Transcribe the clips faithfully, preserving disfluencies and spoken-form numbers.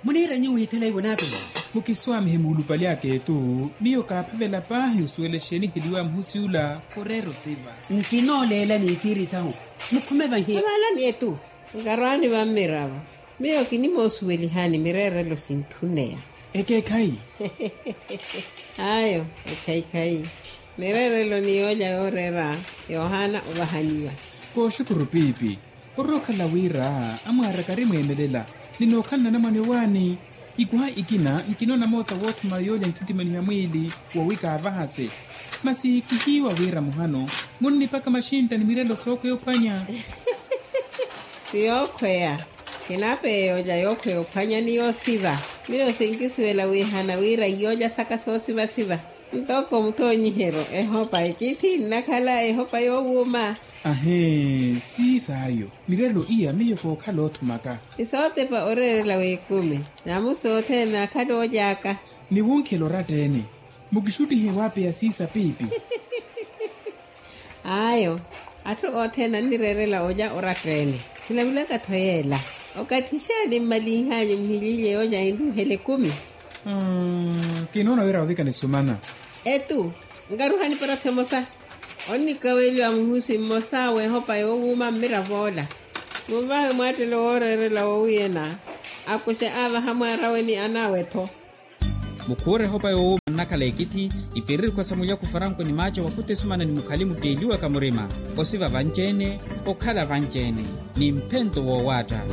Muniira nyuwo withela ivo naapela. Mukiswaamihe muulupali aka etu. Miyo kaaphavela paahi osuwela exeeni eheliwa muhusi ula. Khureera osiva. Nkinooleela ni isiiri sahu. Mukhume vahi. Avalani etu. Nkarwaani vammiravo. Miyo kinimoosuwelihani mireerelo sintthuneya. Ekeekhayi. Ayo. Ekhayikhayi. Mireerelo ni yoolya yooreera yoohaana ovahaniwa. Kooxukuru piipi. Orookhala wira amwaaraka ari mweemelela ni nookhala nanamwane owaani. Ikuha ikina nkinoona moota woothuma yoolya nkhitimaniha mwiili wowi kaavahase. Masi kihiiwa wira muhano munnipaka maxintta ni mirelo sookhweya ophwanya. Ti yookhweya. Kinapeya yoolya yookhweya ophwanya ni yoosiva. Miyo sinkisuwela wiihana wira iyoolya saka soosivasiva. Ntoko muthoonyiheryo ehopa ekithi nnakhala ehopa yoowuuma. Ahee. Siisaayo. Mirelo iya miyo kookhala oothumaka. Isootepa oreerela w'ekumi. Namusi othene naakhala ooly'aka. Ni wunkhela oratta-ene. Mukixuttihe waapeya siisa piipi. Ayo. Atthu othene annireerela olya oratta-ene. Khilavulaka-tho yeela. Okathi xaani mmalinh'anyu muhilyiilye yoolya enruuhela ekumi. Kinoona wira ovika nisumana. Etu. Nkaruhani para-tho emosa. Onnikaweliwa muhusi mmosa w'ehopa yoowuuma mmirav'ola. Munvahe mwaattelo wooreerela woowiyana. Akuxe aavaha mwaarawe ni anaawe-tho. Mukhuura ehopa yoowuuma nnakhala ekithi. Ipirikhwa sa mulyaku faranko ni maaco wakhuta esumana ni mukhali mutteeliwaka murima. Osiva vanci-ene. Okhala vanci-ene. Ni mphento woowaatta.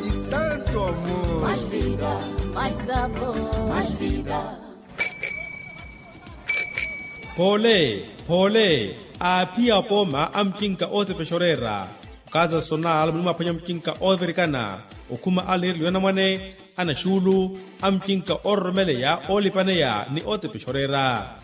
Itanto amu. Phoole. Phoole. Aaphiya apooma a mucinka ootepexa oreera. Okaza sonal munimwaaphwanya mucinka oovirikana. Okhuma a niireliwa anamwane, anaxuulu, a mucinka oororomeleya oolipaneya ni ootepexa oreera.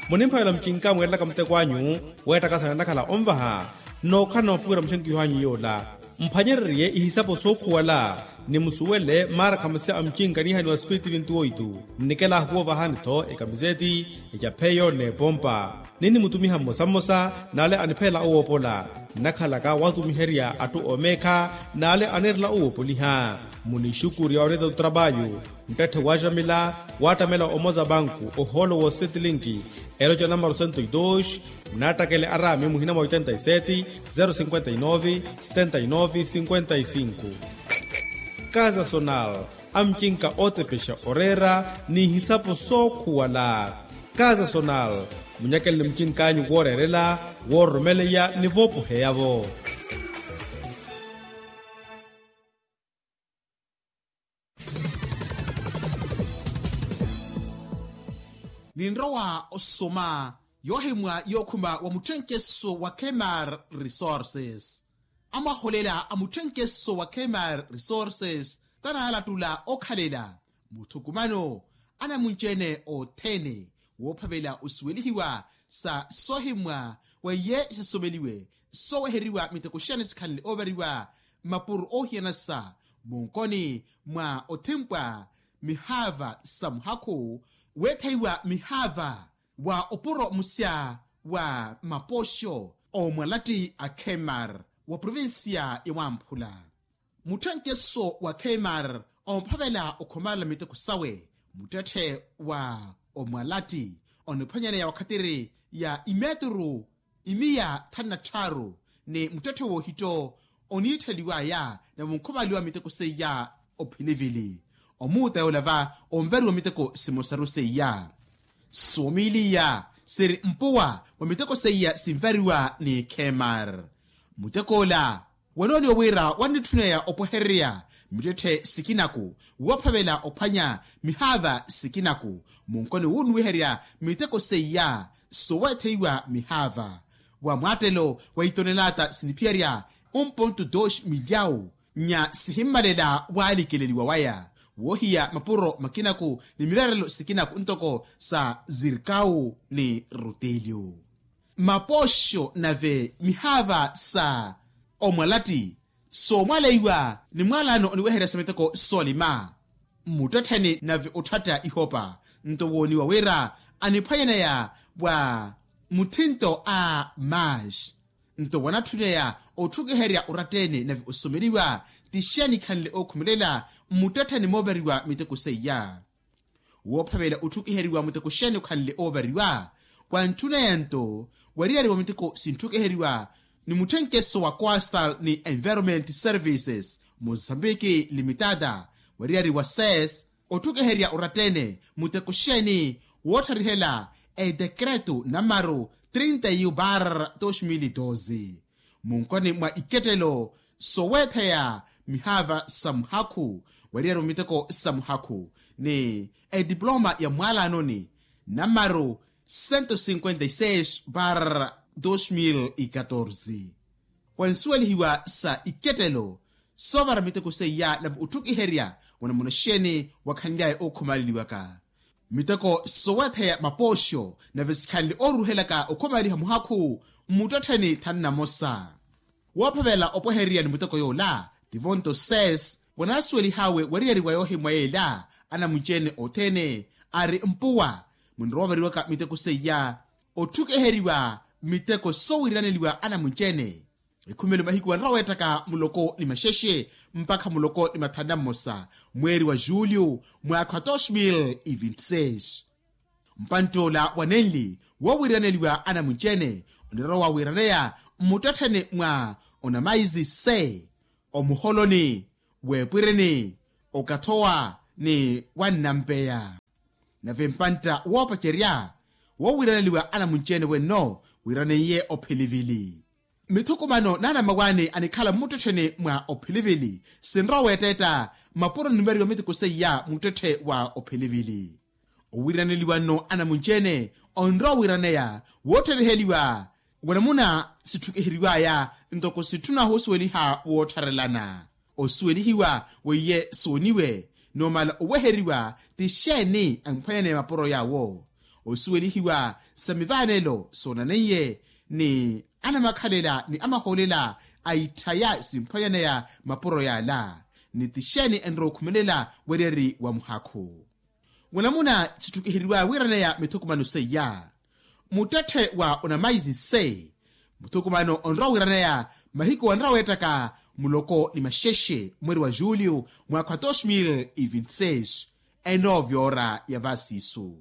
Munimphavela mucinka mweerelaka muteko anyu weettakasana nnakhala onvaha. Nnookhala namupuwira muxenkiho anyu yoola. Mphwanyererye ihisapo sookhuwala. Ni musuwele maarakhamasi a mucinka niihaniwa spiritu vinti oitu. Nnikela ahuwovahani-tho ekamiseti, ecapheyo n'epompa. Ninnimutumiha mmosa mmosa n'ale aniphelela owoopola. Nnakhalaka waatumiherya atthu oomeekha n'ale aneerela owoopoliha. Munixukurya wanetta otrapayu. Muttetthe waaxamila waattamela omoza banku ohoolo w'osetilinki. Eloca namaru sento e dos. Munaattakele araami muhina mwa oitenta e seti, zero cinquenta e nove, setenta e nove cinquenta e cinco. Kaza sonal. Amucinka ootepexa oreera ni ihisapo sookhuwala. Kaza sonal. Munyakeleni mucinkanyu wooreerela, woororomeleya ni voopoheya-vo. Ninrowa osoma yoohimwa yookhuma wa mutthenkeso wa kmar resources. Amwaholela a mutthenkeso wa kmar resources tanaalatula okhalela muthukumano anamunci-ene othene woophavela osuwelihiwa sa soohimwa wa iye sisomeliwe sooweheriwa miteko xiyana sikhalele oovariwa mmapuro oohiyana sa munkoni mwa othimpwa mihaava sa muhakhu weetheiwa mihaava wa opuro musya wa mapoxo omwalatti a kmar wa provincia ya wamphula. Mutthenkeso wa kmar omphavela okhomalela miteko sawe muttetthe wa omwalatti oniphwanyaneya wakhatiri ya imeturu imiya thanu na tthaaru ni muttetthe woohitto oniittheliwaya na vonkhomaliwa miteko seiya ophinivili omuuta yoola va onvariwa miteko simosaru seiya. Soomiiliya siri mpuwa mwa miteko seiya sinvariwa ni kmar. Mutek'ola wanooniwa wira wannitthunaya opwehererya mittetthe sikinaku woophavela ophwanya mihaava sikinaku munkoni wunnuwiherya miteko seiya soweetheiwa mihaava wa mwaattelo wa itonelaata siniphiyarya un ponto dos milyawu nya sihimmalela waalikeleliwa waya woohiya mapuro makinaku ni mireerelo sikinaku ntoko sa zirkawu ni rutelyo. Mapoxo nave mihaava sa omwalatti soomwaleiwa ni mwaalano oniweherya sa miteko soolima muttettheni nave otthatta ihopa nto wooniwa wira aniphwanyaneya wa muthinto a mash nto wanatthunyeya otthukiherya oratta-ene nave osomeliwa ti xeeni khanle ookhumelela mmuttettheni moovariwa miteko seiya. Woophavela otthukiheriwa muteko xeeni okhanle oovariwa? Wantthuna yanto wariyari wa miteko sintthukiheriwa ni mutthenkeso wa coastal ni environment services mozambique limitada wariyari wa ses otthukiherya orattene muteko xeeni wootharihela edekreto namaru trinta yu bar dos mil doze munkoni mwa ikettelo soweetheya mihaava sa muhakhu wariyari wa miteko sa muhakhu ni ediploma ya mwaalaanoni namaru sento sinkwenta i seis bar dos mil i katorze. Wansuwelihiwa sa ikettelo soovara miteko seiya nave otthukiherya wanamuna xeeni wakhanly'aya ookhumaleliwaka miteko soweetheya mapooxo nave sikhanle ooruruhelaka okhumaleliha muhakhu mmuttettheni thanu namosa. Woophavela opwehererya ni muteko yoola tivonto ses wanasuwelih'awe wariyari wa yoohimwa yeela anamunci-ene othene ari mpuwa munrowa ovariwaka miteko seiya otthukiheriwa miteko sowiiraneliwa anamunci-ene ekhumelo mahiku anrowa weettaka muloko ni maxexe mpakha muloko ni mathanu na mmosa mweeri wa julio mwaakha wa dos mil e vinti seis. Mpantt'ola wanenli woowiiraneliwa anamunci-ene onirowa wawiiraneya mmuttettheni mwa onamaisi se omuholoni weepwirini okathowa ni wannampeya nave mpantta woopacerya woowiiraneliwa anamunci-ene wenno wiiraneiye ophelivili mithukumano n'anamawaani anikhala mmuttettheni mwa ophelivili sinrowa weetteetta mapuro nivariwa miteko seiya muttetthe wa ophelivili. Owiiraneliwa nno anamunci-ene onrowa wiiraneya wootthoriheliwa wanamuna sitthukiheriw'aya ntoko sitthuna hoosuweliha woottharelana osuwelihiwa weiye sooniwe numala oweheriwa ti xeeni amphwanyaneya mapuro yaawo osuwelihiwa sa mivaanelo soonaneiye ni anamakhalela ni amahoolela a itthaya simphwanyaneya mapuro yaala ni ti xeeni enrowa okhumelela wariyari wa muhakhu. Wanamuna sitthukiheriw'aya wiiraneya mithukumano seiya muttetthe wa onamaisi se muthukumano onrowa wiiraneya mahiku anrowa weettaka muloko ni maxexe mweeri wa julio mwaakha wa dos mil e vinti seis enoovyora ya vasiisu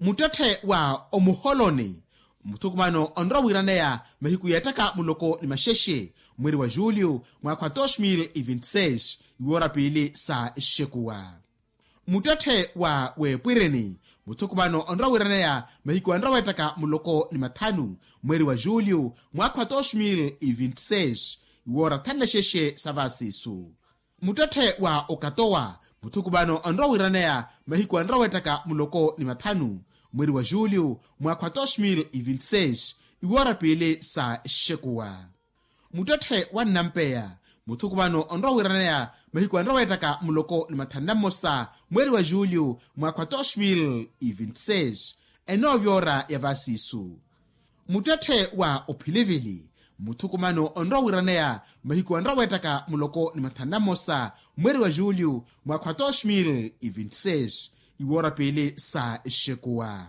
muttetthe wa omuholoni muthukumano onrowa wiiraneya mahiku yeettaka muloko ni maxexe mweeri wa julio mwaakha wa dos mil e vinti seis iwoora piili sa exekuwa muttetthe wa weepwirini muthukumano onrowa wiiraneya mahiku anrowa weettaka muloko ni mathanu mweeri wa julio mwaakha wa dos mil e vinti seis iwoora thanu na xexe sa vasiisu muttetthe wa okatowa muthukumano onrowa wiiraneya mahiku anrowa weettaka muloko ni mathanu mweeri wa julio mwaakha wa dos mil e vinti seis iwoora piili sa exekuwa muttetthe wa nnampeya muthukumano onrowa wiiraneya mahiku anrowa weettaka muloko ni mathanu na mmosa mweeri wa julio mwaakha wa dos mil e vinti seis enoovyora ya vasiisu muttetthe wa ophilivili muthukumano onrowa wiiraneya mahiku anrowa weettaka muloko ni mathanu na mmosa mweeri wa julio mwaakha wa dos mil e vinti seis iwoora piili sa exekuwa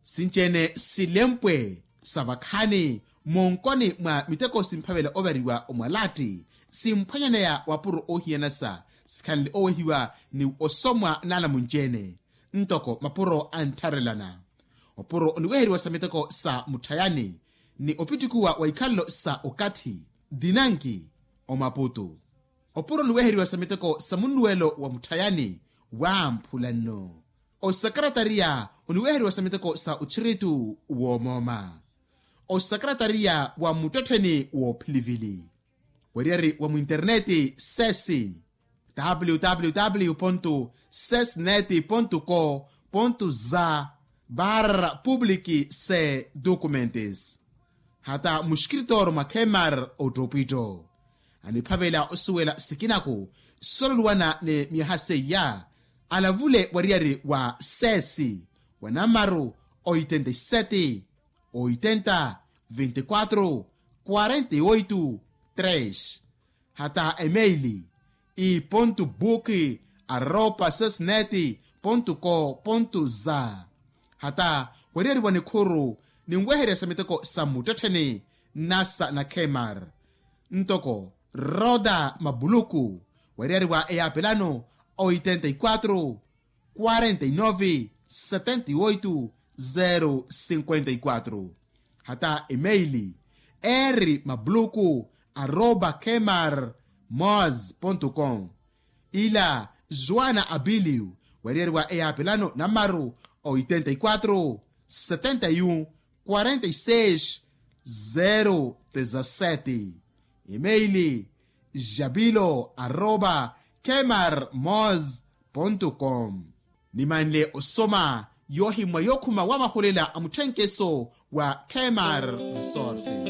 sinci-ene silempwe sa vakhaani monkoni mwa miteko simphavela ovariwa omwalatti simphwanyaneya wapuro oohiyanasa sikhanle owehiwa ni osomwa n'anamunci-ene ntoko mapuro anttharelana opuro oniweheriwa sa miteko sa mutthayani ni opittikhuwa wa ikhalelo sa okathi dinanki omaputu opuro oniweheriwa sa miteko sa munnuwelo wa mutthayani waamphula nno osakaratariya oniweheriwa sa miteko sa otthiritu woomooma osakaratariya wa muttettheni woophilivili weriyari wa mwinterneti sesi www sesnet co za barra public se documentes hata muskritoro mwa khemar ottopwitto aniphavela osuwela sikinaku sololuwana ni myaha seiya alavule wariyari wa sesi wa namaru oitenta y sete oitenta veintiquatro quarenta y oito tres hata emeili i pontu buki arropa sesnet pontu co pontu za hata weriyari wa nikhuru ninweherya sa miteko sa mmuttettheni nnasa na khemar ntoko Roda mabuluku, weriyari wa eyaapelano oitenta y quatro, quarenta y nove, setenta y oito, zero cinquenta y quatro. Hata emeili, eri mabuluku arroba kmar mos ponto com. Ila joana abilio, weriyari wa eyaapelano namaru oitenta y quatro, setenta y un, quarenta y seis, zero dezasete. Emeili, jabilo arroba kmar mos ponto com. Nimanle osoma yohimmwa yookhuma wa mahulela a mutthenkeso wa kmar resources.